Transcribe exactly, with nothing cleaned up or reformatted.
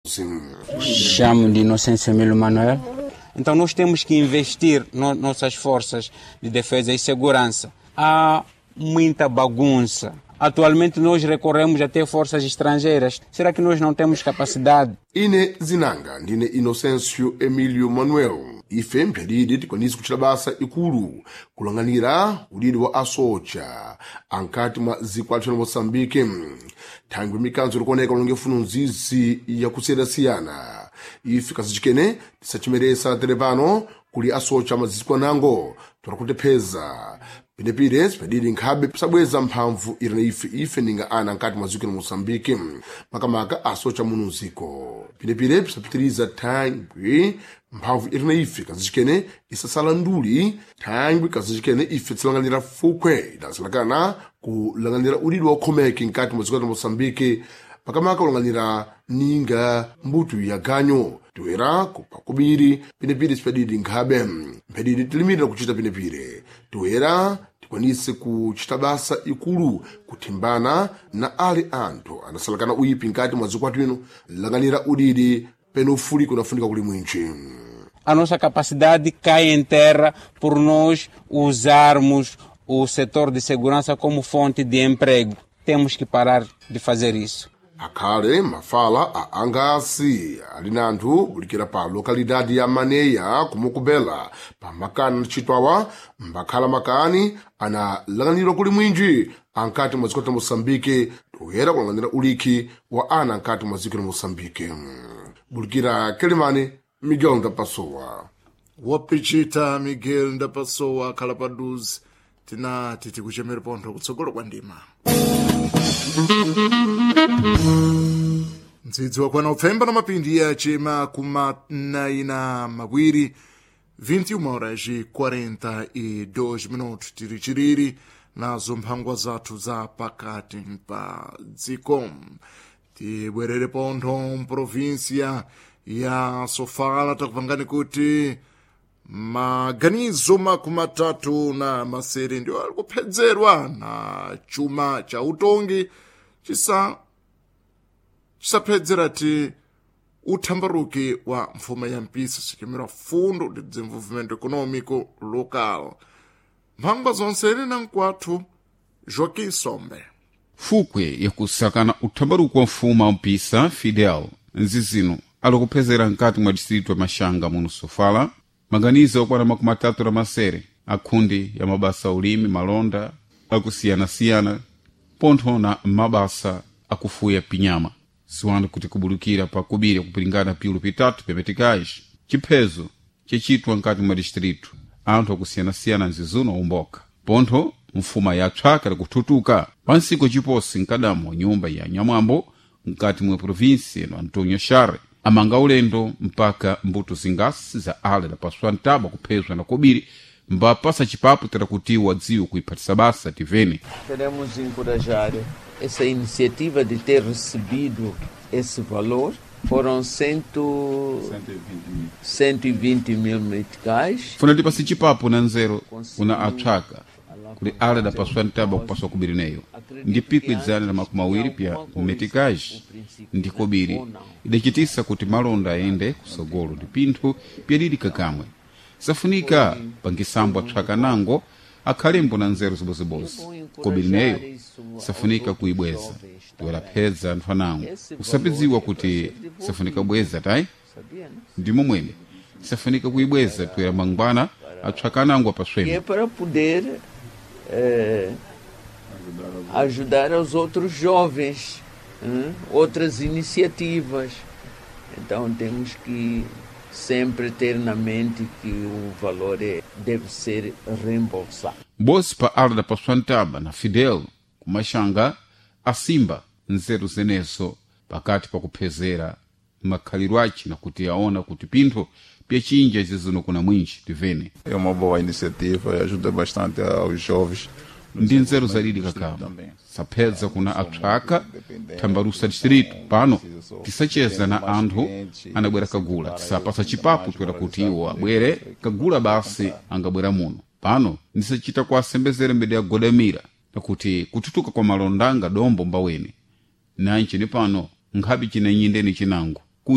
Chamo de Inocêncio Emílio Manuel. Então nós temos que investir no, nossas forças de defesa e segurança. Há muita bagunça. Atualmente nós recorremos até forças estrangeiras. Será que nós não temos capacidade? Ine zinanga ndine Inocêncio Emílio Manuel. Ife mpyadidi tikwanise kutchita basa ikulu kulang'anira udidi wa asocha ankati mwa ziko athu la Moçambique. Thangwi mikanzo likuoneka longe funo nzizi yakusiyana-siyana. Ife kasicikene tisachimeresa tere pano kuli asocha maziko anango twarakutepheza pinepire sipedidi nkhabe pisabweza mphamvu irina ife ife ninga ana nkati mwa ziko la Moçambique, makamaka asocha muno mziko. Pinepire pisapitiriza thangwi mphamvu irina ife kazicikene isasala nduli thangwi kazicikene ife tisilang'anira fukwe idasilakana kulang'anira udidi wa ukhomeki nkati mwa ziko la Moçambique, makamaka kulang'anira ninga mbuto ya ganyo tiwera kupa kubiri pinepire sipedidi nkhabe mphedidi tilimira kuchita pinepire tiwera tikwanise kuchita basa ikulu kuthimbana na ali anthu anasalakana uyipi nkati mwa dziko athu ino lang'anira udidi pene ufuliko unafunika kuli mwinji. A nossa capacidade cai em terra por nós usarmos o setor de segurança como fonte de emprego. Temos que parar de fazer isso. Akhale mafala a angasi ali na anthu bulikira pa lokalidade ya Maneya kumukubela pamakani ntchito mbakhala makani analang'anirwa kuli mwinji ankati mwa dziko la Moçambique toyera kulang'anira ulikhi wa ana ankati mwa dziko la Moçambique. Bulikira Kelimani, Miguel Ndapasowa. Wapichita Miguel Ndapasowa akhala paduzi tinati tikuchemere pontho kutsogolo kwa ndima. Mdzidzi wakwana upfemba na mapindi yachema kumanayi na mawiri vinte e uma horas e quarenta e dois minutos, tiri chiriri nazo mphangwa zathu za pakati pa dziko. Tibwerere pontho mprovinsia ya Sofala, takupangani kuti maganizo makumi atatu na masere ndiwo ali kuphedzerwa na chuma cha utongi chisa chisaphedzera ti uthambaruki wa mfuma ya mpisa chichimira Fundo de Desenvolvimento Econômico Local. Mphangwa zonse ili na mkwathu Joaquim Sombe. Fukwe yakusakana uthambaruko wa mfuma wa mpisa Fidel nzizino alikuphezera nkati mwa distritu ya Maxanga muno Sofala maganizo okwana makumi atatu na masere akhundi ya mabasa ulimi, malonda akusiyana-siyana pontho na mabasa akufuya pinyama. Ziwanda kuti kubulukira pa kubiri kupilingana piulu pitatu pyametikais chiphezo chechitwa nkati mwa distritu anthu akusiyana-siyana nzizuno umboka pontho mfuma yatswaka likuthutuka pansiko chiposi nkadamo nyumba ya nyamwambo nkati mwa provinsi ino Antonio Share amanga ulendo mpaka mbuto zingasi za ale lapaswa ntaba kuphezwa na kobiri mbapasa chipapo tera kuti wadziwe kuiphatisa basa tivene. Queremos encorajar essa iniciativa de ter recebido esse valor. Foram cento, cento e vinte mil meticais. Funa tipasi chipapo na nzeru kuna atswaka kuli ale dapaswa ntaba kupaswa kubiri neyo ndi pikwi dzana na makumi awiri pya metikaji ndi kobiri idachitisa kuti malonda ayende kusogolo ndi pinthu pyadidi kakamwe safunika pangisambwa tswaka nango akhalembo na nzeru zibozibozi kobiri neyo safunika kuibweza tiwalaphedza anthu anango usapidziwa kuti safunika bweza tayi ndimo mwene safunika kuibweza toera mangwana atswaka anango Que é apaswemo. Para poder eh, ajudar aos outros jovens, hein, outras iniciativas. Então temos que sempre ter na mente que o valor é, deve ser reembolsado. Bosi pa ala da paswantaba na Fidel kumaxanga asimba nzeru zenezo pakati pakuphezera makhalidwe ace nakuti aona kuti pinthu pyachinja zizino kuna mwinji tivene. É uma boa iniciativa e ajuda bastante aos jovens. Ndi nzeru zalili kakama saphedza kuna atswaka thambalusa distrito pano tisacheza na anthu anabwera kagula tisapasa chipapo toera kuti iwo abwere kagula basi angabwera muno pano ndisachita kuasembezere mbede ya godamira nakuti kututuka kwa malondanga dombo mbawene nanchi ni pano nkhabi cina nyindeni chinango.